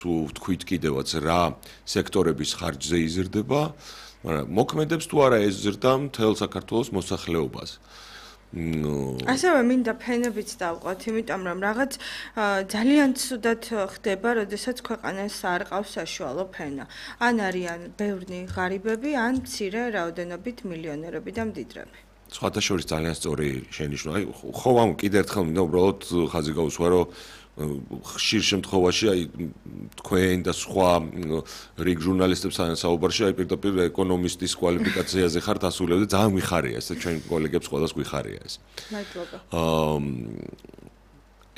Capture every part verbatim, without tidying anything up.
თუ თქვით კიდევაც რა სექტორების ხარჯზე იზრდება, მაგრამ მოქმედებს თუ არა ეს ზრდა მთელ საქართველოს მოსახლეობაზე. ასევე მინდა ფენებიც დავყოთ, იმიტომ რომ რაღაც ძალიან ცუდად ხდება, როდესაც ქვეყანას არ ყავს საშუალო ფენა. ან არიან ბევრი ღარიბები, ან მცირე რაოდენობით მილიონერები და მდიდრები. სხვათა შორის ძალიან სწორი შენიშვნა. აი, ხო ამ კიდევ ერთხელ მინდა უბრალოდ ხაზი გაუსვა, რომ ხშირ შემთხვევაში აი თქვენ და სხვა რიგ ჟურნალისტებთან საუბარში აი პირდაპირ ეკონომისტის კვალიფიკაციაზე ხართ ასულები და ძალიან გვიხარია ეს ჩვენ კოლეგებს ყველას გვიხარია ეს. მადლობა. აა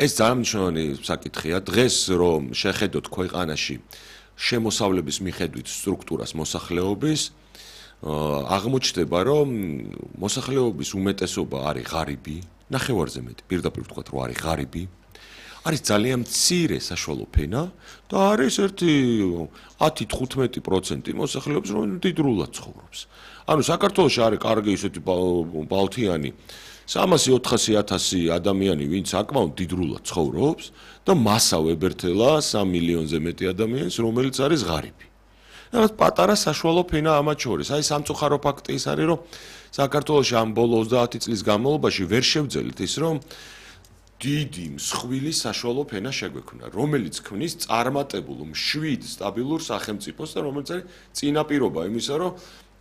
ეს ძალიან მნიშვნელოვანი საკითხია. დღეს რომ შეხედოთ ქვეყანაში შემოსავლების მიხედვით სტრუქტურას მოსახლეობის აღმოჩნდება რომ მოსახლეობის უმეტესობა არის ღარიბი, ნახევარზე მეტი, პირდაპირ ვთქვათ რომ არის ღარიბი. არის ძალიან მცირე საშუალო ფენა და არის ერთი ათი თხუთმეტი პროცენტი მოსახლეობის რომ მდიდრულად ცხოვრობს. ანუ საქართველოში არის კარგი ისეთი ბალთიანი სამასი ოთხასი ათასი ადამიანი, ვინც საკმაოდ მდიდრულად ცხოვრობს და მასა ვებერთელა სამ მილიონზე მეტი ადამიანს, რომელიც არის ღარიბი. რაღაც პატარა საშუალო ფენა ამათ შორის. აი სამწუხარო ფაქტი ის არის, რომ საქართველოში ამ ბოლო ოცდაათი წლის განმავლობაში ვერ შევძელით ის, რომ დიდი მსხვილი საშუალო ფენა შეგვექმნა, რომელიც ქმნის წარმატებულ, მშვიდ, სტაბილურ სახელმწიფოს და რომელიც არის წინაპირობა იმისა, რომ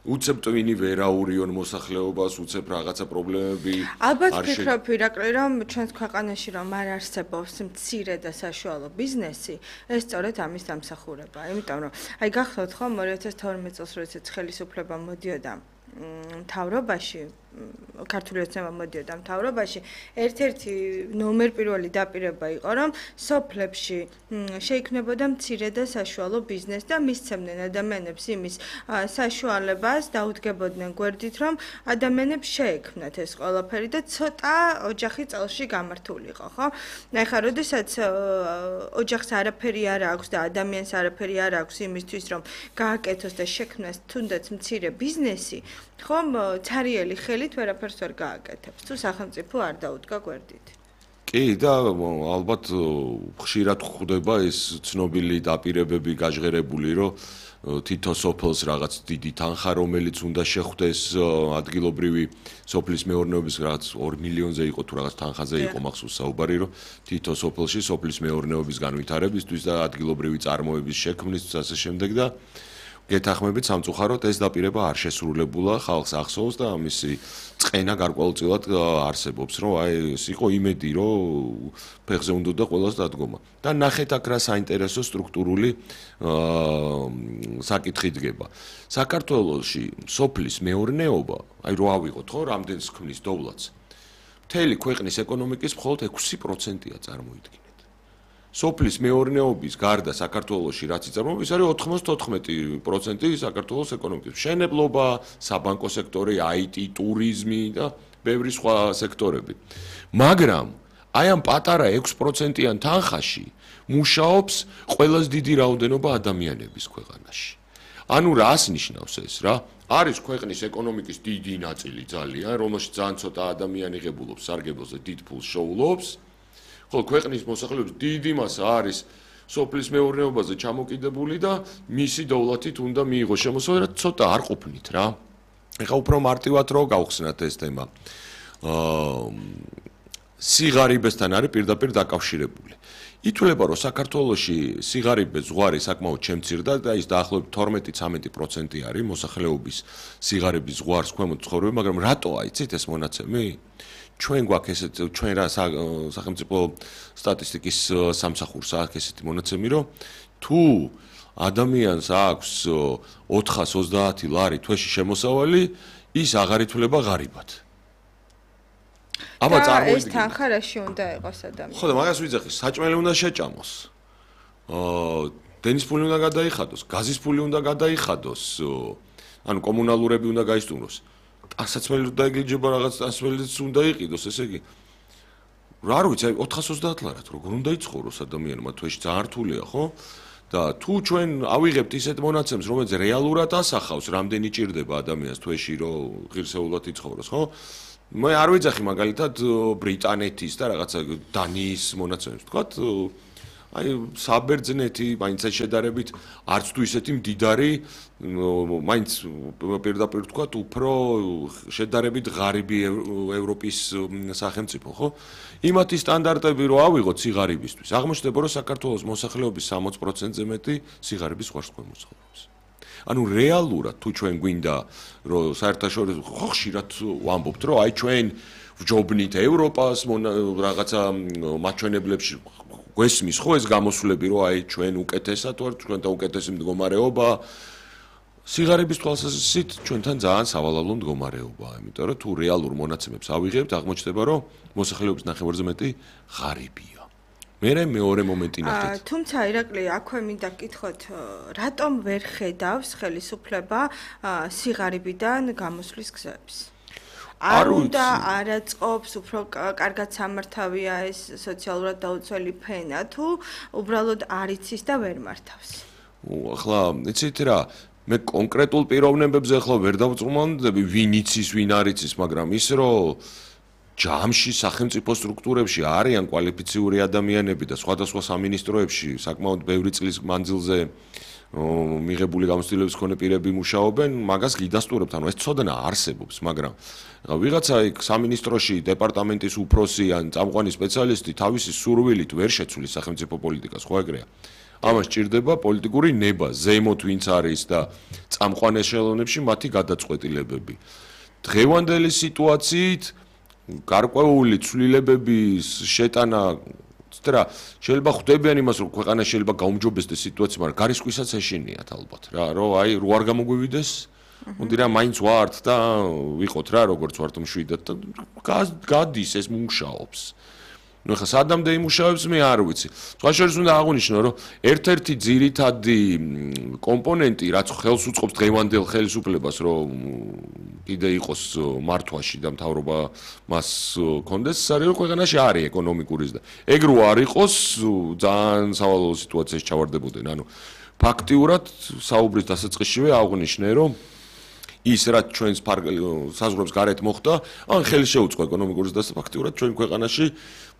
უცებ ტვინი ვერაურიონ მოსახლეობას, უცებ რაღაცა პრობლემები არ შეიძლება. ალბათ ვფიქრობ ირაკლი, რომ ჩვენს ქვეყანაში რომ არ არსებობს მცირე და საშუალო ბიზნესი, ეს სწორედ ამის დამსახურებაა. იმიტომ რომ აი გახსოვთ ხომ ორი ათას თორმეტ წელს როდესაც ხელისუფლება მოდიოდა მთავრობაში, ქართული ოცნება მოდიოდა მთავრობაში, ერთ-ერთი ნომერ პირველი დაპირება იყო, რომ სოფლებში შეიქმნებოდა მცირე და საშუალო ბიზნესი და მისცემდნენ ადამიანებს იმის საშუალებას, დაუდგებოდნენ გვერდით, რომ ადამიანებს შეექმნათ ეს ყველაფერი და ცოტა ოჯახი წელში გამართულიყო, ხო? ეხლა, როდესაც ოჯახს არაფერი არ აქვს და ადამიანს არაფერი არ აქვს იმისთვის, რომ გააკეთოს და შექმნას თუნდაც მცირე ბიზნესი, ხომ ცარიელი ხელით ვერაფერს ვერ გააკეთებს, თუ სახელმწიფო არ დაუდგა გვერდით. კი და ალბათ ხშირად ხვდება ეს ცნობილი დაპირებები გაჟღერებული, რომ თითო სოფელს რაღაც დიდი თანხა, რომელიც უნდა შეხვდეს ადგილობრივი სოფლის მეურნეობის რაღაც ორ მილიონზე იყო თუ რაღაც თანხაზე იყო მახსოვს საუბარი, რომ თითო სოფელში სოფლის მეურნეობის განვითარებისთვის და ადგილობრივი წარმოების შექმნისთვის ასე შემდეგ და გეთახმებით სამწუხაროდ ეს დაპირება არ შესრულებულა, ხალხს ახსოვს და ამისი წყენა გარკვეულწილად არსებობს, რომ აი ეს იყო იმედი, რომ ფეხზე უნდა და ყველას დადგომა. და ნახეთ აქ რა საინტერესო სტრუქტურული საკითხი დგება. საქართველოში სოფლის მეურნეობა, აი რო ავიღოთ ხო, რამდენს ქმნის დოვლათს. მთელი ქვეყნის ეკონომიკის მხოლოდ ექვსი პროცენტია წარმოიდგინეთ. სოფლის მეურნეობის გარდა საქართველოში რაც იწარმოება, ის არის ოთხმოცდაოთხმეტი პროცენტი საქართველოს ეკონომიკის. მშენებლობა, საბანკო სექტორი, აი ტი, ტურიზმი და ბევრი სხვა სექტორები. მაგრამ აი ამ პატარა ექვს პროცენტიან თანხაში მუშაობს ყველაზე დიდი რაოდენობა ადამიანების ქვეყანაში. ანუ რას ნიშნავს ეს რა? არის ქვეყნის ეკონომიკის დიდი ნაწილი ძალიან, რომელშიც ძალიან ცოტა ადამიანი ღებულობს სარგებლოზე, დიდ ფულს შოულობს. ხოლო ქვეყნის მოსახლეობის დიდი მასა არის სოფლის მეურნეობაზე ჩამოკიდებული და მისი დოვლათით უნდა მიიღოს შემოსავალი, რაც ცოტა არ ყოფნით რა. ეხლა უფრო მარტივად რო გავხსნათ ეს თემა. აა სიღარიბესთან არის პირდაპირ დაკავშირებული. ითვლება, რომ საქართველოში სიღარიბეს ზღვარი საკმაოდ შემცირდა და ის დაახლოებით თორმეტი ცამეტი პროცენტი არის მოსახლეობის სიღარიბის ზღვარს ქვემოთ ცხოვრები, მაგრამ რატო აიცით ეს მონაცემი? ჩვენ გვაქვს ესეთ ჩვენ რა სახელმწიფო სტატისტიკის სამსახურს აქვს ესეთი მონაცემი, რომ თუ ადამიანს აქვს ოთხას ოცდაათი ლარი თვეში შემოსავალი, ის აღარ ითვლება ღარიბად. აბა წარმოიდგინეთ. ეს თანხა რაში უნდა იყოს ადამიანს? ხო და მაგას ვიძახი, საჭმელი უნდა შეჭამოს. აა დენის ფული უნდა გადაიხადოს, გაზის ფული უნდა გადაიხადოს, ანუ კომუნალურები უნდა გაისტუმროს. ასაცმელი უნდა ეგლიჯება რაღაც ასმელიც უნდა იყიდოს, ესე იგი. რა არ ვიცი, აი ოთხას ოცდაათ ლარად როგორ უნდა იცხოვროს ადამიანმა თვეში ძალიან რთულია, ხო? და თუ ჩვენ ავიღებთ ისეთ მონაცემს, რომელიც რეალურად ასახავს, რამდენი ჭირდება ადამიანს თვეში, რომ ღირსეულად იცხოვროს, ხო? მე არ ვიძახი მაგალითად ბრიტანეთის და რაღაცა დანიის მონაცემებს, თქვათ აი საბერძნეთი მაინც შედარებით არც თუ ისეთი მდიდარი მაინც პირდაპირ თქვა უფრო შედარებით ღარიბი ევროპის სახელმწიფო ხო იმათი სტანდარტები რო ავიღოთ სიღარიბისთვის აღმოჩნდება რომ საქართველოს მოსახლეობის სამოცი პროცენტზე მეტი სიღარიბის ხარჯს მოძღვრავს ანუ რეალურად თუ ჩვენ გვინდა რომ საერთაშორისო ხო ხშირად ვამბობთ რომ აი ჩვენ ვჯობნით ევროპას რაღაცა მაჩვენებლებში გვესმის ხო ეს გამოსვლები რომ აი ჩვენ უკეთესად ვართ ჩვენთან უკეთესი მდგომარეობა სიღარიბის თვალსაზრისით ჩვენთან ძალიან სავალალო მდგომარეობაა იმიტომ რომ თუ რეალურ მონაცემებს ავიღებთ აღმოჩნდება რომ მოსახლეობის ნახევარზე მეტი ღარიბია მერე მეორე მომენტი ნახეთ თუმცა ირაკლი აქვე მინდა გკითხოთ რატომ ვერ ხედავს ხელისუფლება სიღარიბიდან გამოსვლის გზებს არ უნდა არაწყობს უფრო კარგად სამართავია ეს სოციალურად დაუცველი ფენა თუ უბრალოდ არ იცის და ვერ მართავს ახლა იცით რა მე კონკრეტულ პიროვნებებზე ახლა ვერ დავწმუნდები ვინ იცის ვინ არ იცის მაგრამ ის რომ ჯამში სახელმწიფო სტრუქტურებში არიან კვალიფიციური ადამიანები და სხვადასხვა სამინისტროებში საკმაოდ ბევრი წლის მანძილზე მიღებული გამოცდილების მქონე პირები მუშაობენ მაგას გიდასტურებთ ანუ ეს ცოდნა არსებობს მაგრამ ვიღაცა იქ სამინისტროში დეპარტამენტის უფროსი ან წამყვანი სპეციალისტი თავისი სურვილით ვერ შეცვლის სახელმწიფო პოლიტიკას ხო ეგრეა ამას ჭირდება პოლიტიკური ნება ზემოთ ვინც არის და წამყვან ეშელონებში მათი გადაწყვეტილებები დღევანდელი სიტუაციით გარკვეული ცვლილებების შეტანა ცდრა შეიძლება ხვდებიან იმას რომ ქვეყანა შეიძლება გაუმჯობესდეს სიტუაცია მაგრამ გარისხვისაც ეშინიათ ალბათ რა რომ აი რო არ გამოგვივიდეს მოდი რა მაინც ვართ და ვიყოთ რა როგორც ვართ მშვიდად და გადის ეს მუშაობს ნუ ხა სადამდე იმუშავებს მე არ ვიცი სხვა შორის უნდა აღვნიშნო რომ ერთ-ერთი ძირითადი კომპონენტი რაც ხელს უწყობს დღევანდელ ხელისუფლებას რომ კიდე იყოს მართვაში და მთავრობა მას კონდეს არის რომ ქვეყანაში არის ეკონომიკური და ეგ რო არ იყოს ძალიან სავალალო სიტუაციაში ჩავარდებოდნენ ანუ ფაქტიურად საუბრის დასაწყისშივე აღვნიშნე რომ ის რაც ჩვენს საზღვრებს გარეთ მოხდა ან ხელი შეუწყო ეკონომიკური და ფაქტიურად ჩვენ ქვეყანაში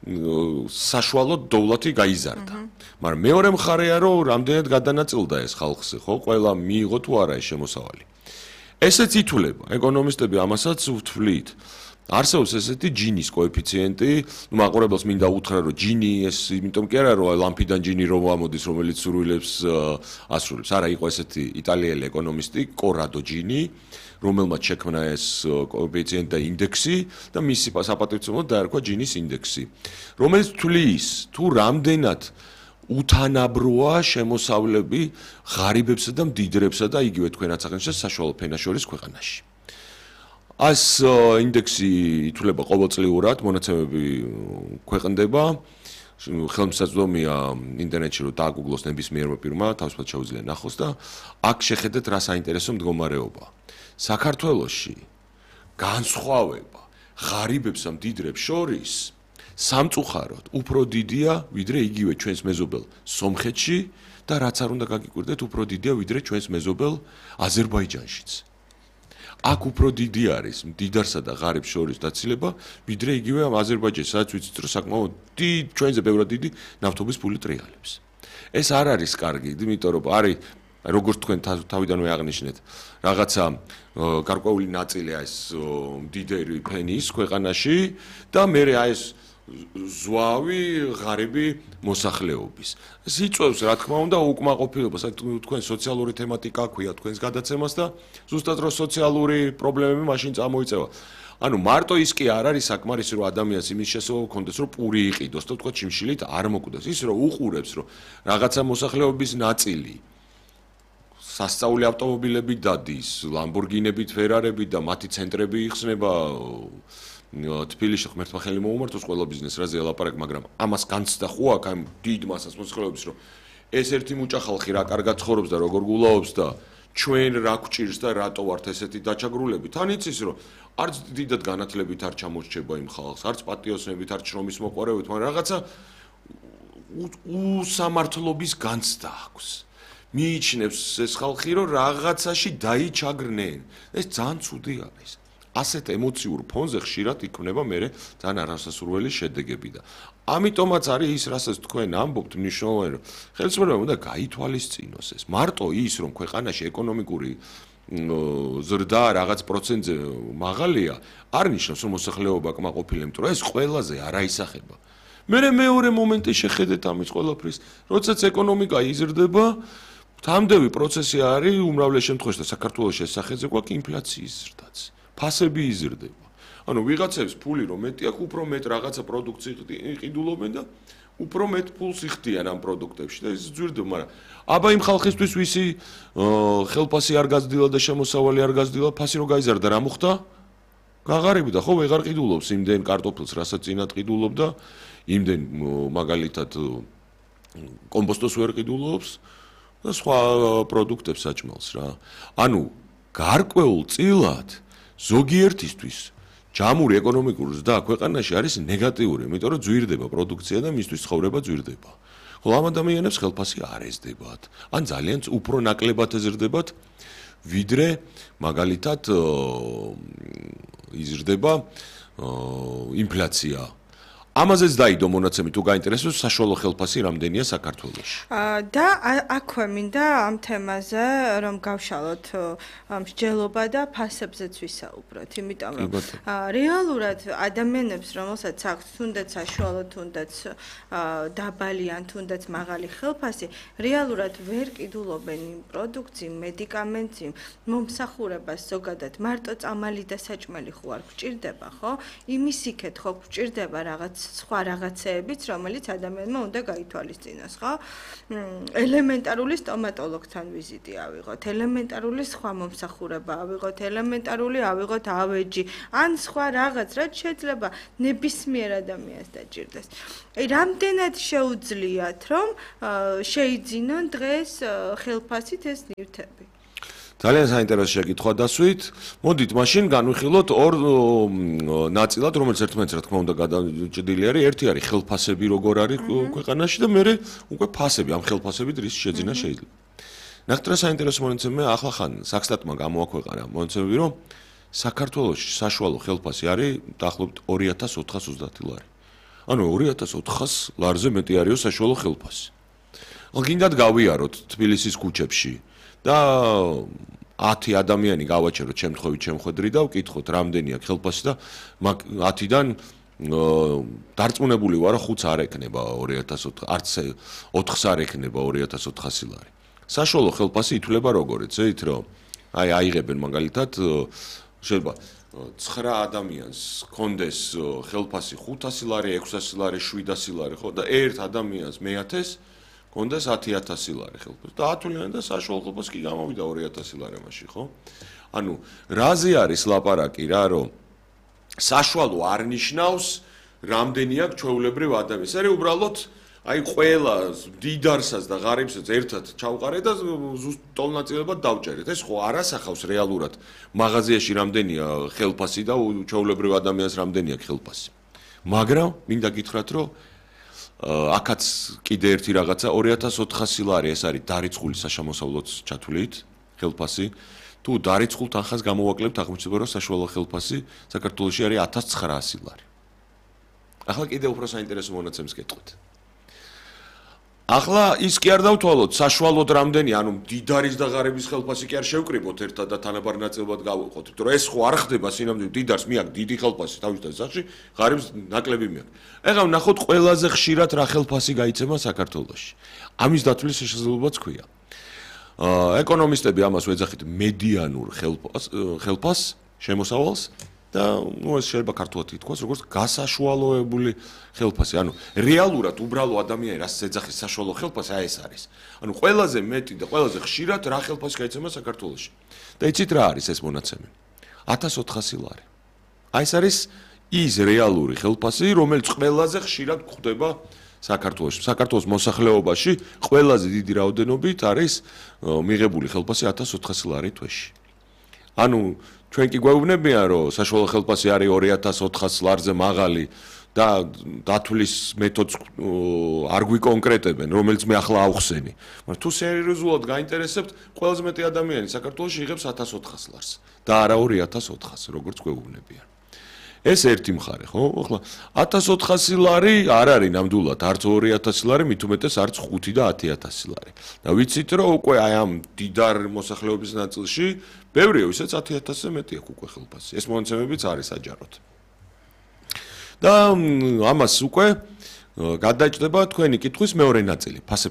საშუალო დოვლათი გაიზარდა მაგრამ მეორე მხარეა რომ რამდენად გადანაწილდა ეს ხალხზე ხო ყველა მიიღო თუ არა ეს შემოსავალი ესეც ითვლება ეკონომისტები ამასაც ვთვლით არსებობს ესეთი ჯინის კოეფიციენტი ნუ მაყურებელს მინდა უთხრა რომ ჯინი ეს იმიტომ კი არა რომ ლამპიდან ჯინი რომ ამოდის რომელიც სურვილებს ასრულებს არა იყო ესეთი იტალიელი ეკონომისტი კორადო ჯინი რომელმაც შექმნა ეს კოეფიციენტი და ინდექსი და მისი საპატივცემლოდ დაერქვა ჯინის ინდექსი რომელიც თვლის თუ რამდენად უთანაბროა შემოსავლები ღარიბებსა და მდიდრებსა და იგივე თქვენაც აღნიშნეთ საშუალო ფენაშორის ქვეყანაში ეს ინდექსი ითვლება ყოველწლიურად მონაცემები ქვეყნდება ხელმისაწვდომია ინტერნეტში რომ დააგუგლოს ნებისმიერმა პირმა თავისუფლად შეუძლია ნახოს და აქ შეხედეთ რა საინტერესო მდგომარეობა საქართველოში განსხვავება ღარიბებსა მდიდრებს შორის სამწუხაროდ უფრო დიდია ვიდრე იგივე ჩვენს მეზობელ სომხეთში და რაც არ უნდა გაგიკვირდეთ უფრო დიდია ვიდრე ჩვენს მეზობელ აზერბაიჯანშიც აქ უფრო დიდი არის მდიდარსა და ღარიბს შორის დაცილება ვიდრე იგივე ამ აზერბაიჯანში სადაც ვიცით რომ საკმაოდ დიდ ჩვენზე ბევრად დიდი ნავთობის ფული ტრიალებს ეს არ არის კარგი იმიტომ რომ არის როგორც თქვენ თავიდანვე აღნიშნეთ რაღაცა გარკვეული ნაწილია ეს მდიდარი ფენის ქვეყანაში და მე აი ეს ზვავი ღარიბი მოსახლეობის ეს იწვევს რა თქმა უნდა უკმაყოფილებას თქვენ სოციალური თემატიკა ქვია თქვენს გადაცემას და ზუსტად რომ სოციალური პრობლემები მაშინ წამოიწევა ანუ მარტო ის კი არ არის საკმარისი რომ ადამიანს იმის შესაძლებლობა ჰქონდეს რომ პური იყიდოს და თქვა ჩიმშილით არ მოკვდეს ის რომ უყურებს რომ რაღაცა მოსახლეობის ნაწილი სასწაული ავტომობილებით დადის ლამბორგინებით ფერარებით და მათი ცენტრები იხსნება თბილისში ღმერთმა ხელი მოუმართოს ყველა ბიზნეს რაზე ელაპარაკ მაგრამ ამას განცდა ხო აქ ამ დიდ მასას მოსახლეობის რომ ეს ერთი მუჭა ხალხი რა კარგად ცხოვრობს და როგორ გულაობს და ჩვენ რა გვჭირს და რატო ვართ ესეთი დაჩაგრულები თან იცის რომ არც დიდად განათლებით არ ჩამორჩება იმ ხალხს არც პატიოსნებით არც შრომის მოყარებით მაგრამ რაღაცა უსამართლობის განცდა აქვს მიიჩნევს ეს ხალხი რომ რაღაცაში დაიჩაგრნენ ეს ძალიან ცუდი არის ასეთ ემოციურ ფონზე ხშირად იქმნება მე ძალიან არასასურველი შედეგები და ამიტომაც არის ის, რასაც თქვენ ამბობთ, მნიშვნელოვანი, რომ ხელისუფლებამ უნდა გაითვალისწინოს ეს. მარტო ის, რომ ქვეყანაში ეკონომიკური ზრდა რაღაც პროცენტზე მაღალია, არ ნიშნავს, რომ მოსახლეობა კმაყოფილი, იმიტომ რომ ეს ყველაზე არაისახება. მერე მეორე მომენტი შეხედეთ ამის ყველაფრის, როდესაც ეკონომიკა იზრდება, თამდევი პროცესი არის უმრავლეს შემთხვევაში და საქართველოს შესახეზე გვაქვს ინფლაციის ზრდაც. ფასები იზრდება. ანუ ვიღაცებს ფული რომ მეტი აქვს, უფრო მეტ რაღაცა პროდუქცია იყიდულობენ და უფრო მეტ ფულს იხდიან ამ პროდუქტებში და ეს ძვირდება, მაგრამ აბა იმ ხალხისთვის ვისი ხელფასი არ გაზრდილა და შემოსავალი არ გაზრდილა, ფასი რო გაიზარდა, რა მოხდა? გაღარიბდა, ხო, ვეღარ ყიდულობს იმდენ კარტოფილს, რასაც წინათ ყიდულობდა, იმდენ მაგალითად კომპოსტოს ვერ ყიდულობს და სხვა პროდუქტებს საჭმელს რა. ანუ გარკვეულ წილად ზოგიერთისთვის ჯამური ეკონომიკური ზრდა ქვეყანაში არის ნეგატიური, იმიტომ რომ ძვირდება პროდუქცია და მისთვის ცხოვრება ძვირდება. ხოლო ამ ადამიანებს ხელფასი არ ეზრდებათ, ან ძალიან უფრო ნაკლებად ეზრდებათ, ვიდრე მაგალითად იზრდება ინფლაცია. ამაზეც დაიდო მონაცემი თუ გაინტერესებს საშუალო ხელფასი რამდენია საქართველოში. და აქვე მინდა ამ თემაზე რომ გავშალოთ მსჯელობა და ფასებზეც ვისაუბროთ, იმიტომ რომ რეალურად ადამიანებს რომელსაც აქვს თუნდაც საშუალო, თუნდაც დაბალი ან თუნდაც მაღალი ხელფასი, რეალურად ვერ ყიდულობენ იმ პროდუქციი, მედიკამენტი, მომსახურებას ზოგადად მარტო წამალი და საჭმელი ხო არ გვჭირდება, ხო? იმის იქეთ ხო გვჭირდება რაღაც სხვა რაღაცეებიც, რომელიც ადამიანმა უნდა გაითვალისწინოს, ხო? ელემენტარული სტომატოლოგთან ვიზიტი ავიღოთ, ელემენტარული სხვა მომსახურება ავიღოთ, ელემენტარული ავიღოთ ავეჯი, ან სხვა რაღაც, რაც შეიძლება ნებისმიერ ადამიანს დაჭირდეს. აი, რამდენად შეუძლიათ, რომ შეიძინონ დღეს ხელფასით ეს ნივთები? ძალიან საინტერესო შეკითხვა დასვით. მოდით მაშინ განვიხილოთ ორ ნაწილად, რომელიც ერთმანეთს რა თქმა უნდა გადაჭედილი არის. ერთი არის ხელფასები როგორ არის ქვეყანაში და მეორე უკვე ფასები, ამ ხელფასებით რის შეძინა შეიძლება. ნახეთ რა საინტერესო მონაცემია, ახლა ხან საქსტატმა გამოაქვეყნა მონაცემები, რომ საქართველოში საშუალო ხელფასი არის დაახლოებით ორი ათას ოთხას ოცდაათი ლარი. ანუ ორი ათას ოთხას ლარზე მეტი არისო საშუალო ხელფასი. ახლა გინდათ გავიაროთ თბილისის ქუჩებში და ათი ადამიანი გავაჩეროთ შემთხვევით შემხედრი და ვკითხოთ რამდენი აქვს ხელფასი და ათიდან დარწმუნებული ვარ, ხუთს არ ეკნება ორი ათას ოთხი, არც ოთხს არ ეკნება ორი ათას ოთხასი ლარი. საშუალო ხელფასი ითვლება როგორ, ეცით რომ აი აიღებენ მაგალითად შეიძლება ცხრა ადამიანს კონდეს ხელფასი ხუთასი ლარი, ექვსასი ლარი, შვიდასი ლარი, ხო და ერთ ადამიანს მეათეს კონდეს ათი ათასი ლარი ხელფასი და ათვლიან და საშუალო ხელფასი კი გამოვიდა ორი ათასი ლარი მაშინ, ხო? ანუ რაზე არის ლაპარაკი რა, რომ საშუალო არ ნიშნავს რამდენი აქვს ჩვეულებრივ ადამიანს. ეს უბრალოდ აი ყველა დიდარსაც და ღარიბსაც ერთად ჩავყარე და ზუსტ ტოლნაწილებად დავჭერეთ. ეს ხო არ ასახავს რეალურად მაღაზიაში რამდენია ხელფასი და ჩვეულებრივ ადამიანს რამდენი აქვს ხელფასი. მაგრამ მინდა გითხრათ, რომ აქაც კიდე ერთი რაღაცა ორი ათას ოთხასი ლარი ეს არის დარიცხული საშემოსავლოთ ჩათვლით ხელფასი. თუ დარიცხულ თანხას გამოვაკლებთ, აღმოჩნდება რომ საშუალო ხელფასი საქართველოში არის ათას ცხრაასი ლარი. ახლა კიდე უფრო საინტერესო მონაცემს გეტყვით. ახლა ის კი არ დავთვალოთ საშუალოდ რამდენი, ანუ დიდარის და ღარიბის ხელფასი კი არ შევკრიბოთ ერთად და თანაბარ ნაწილად გავუყოთ, იმიტომ რომ ეს ხო არ ხდება სინამდვილე დიდარს მიაქვს დიდი ხელფასი თავისთავად სახში, ღარიბს ნაკლები მიაქვს. ეხლა ვნახოთ ყველაზე ხშირად რა ხელფასი გაიცემა საქართველოში. ამის დათვლის შესაძლებლობაც ქვია. ეკონომისტები ამას ვეძახით მედიანურ ხელფას, ხელფას შემოსავალს და ნუ ეს შეიძლება ქართულად ითქვას, როგორც გასაშუალოებული ხელფასი. ანუ რეალურად უბრალო ადამიანი რაც ეძახის საშუალო ხელფასი, აი ეს არის. ანუ ყველაზე მეტი და ყველაზე ხშირად რა ხელფასი გაიცემა საქართველოში. და იცით რა არის ეს მონაცემი? ათას ოთხასი ლარი. აი ეს არის ის რეალური ხელფასი, რომელიც ყველაზე ხშირად გვხვდება საქართველოში. საქართველოს მოსახლეობაში ყველაზე დიდი რაოდენობით არის მიღებული ხელფასი ათას ოთხასი ლარი თვეში. ანუ ჩვენ კი გვეუბნებიან, რომ საშუალო ხელფასი არის ორი ათას ოთხას ლარზე მაღალი და დათვლის მეთოდს არ გვიკონკრეტებენ, რომელიც მე ახლა ავხსენი. მაგრამ თუ სერიოზულად გაინტერესებთ, ყველაზე მეტი ადამიანი საქართველოში იღებს ათას ოთხას ლარს და არა ორი ათას ოთხას, როგორც გვეუბნებიან. ეს ერთი მხარე, ხო? ახლა ათას ოთხასი ლარი არ არის ნამდვილად, არც ორი ათასი ლარი, მით უმეტეს არც ხუთი და ათი ათასი ლარი. და ვიცით, რომ უკვე აი ამ დიდარ მოსახლეობის ნაწილში ბევრია, ვისაც ათი ათასზე მეტი აქვს უკვე ხელფასი. ეს მონაცემებიც არის საჯაროდ. და ამას უკვე გადაჭდება თქვენი კითხვის მეორე ნაწილი, ფასებთან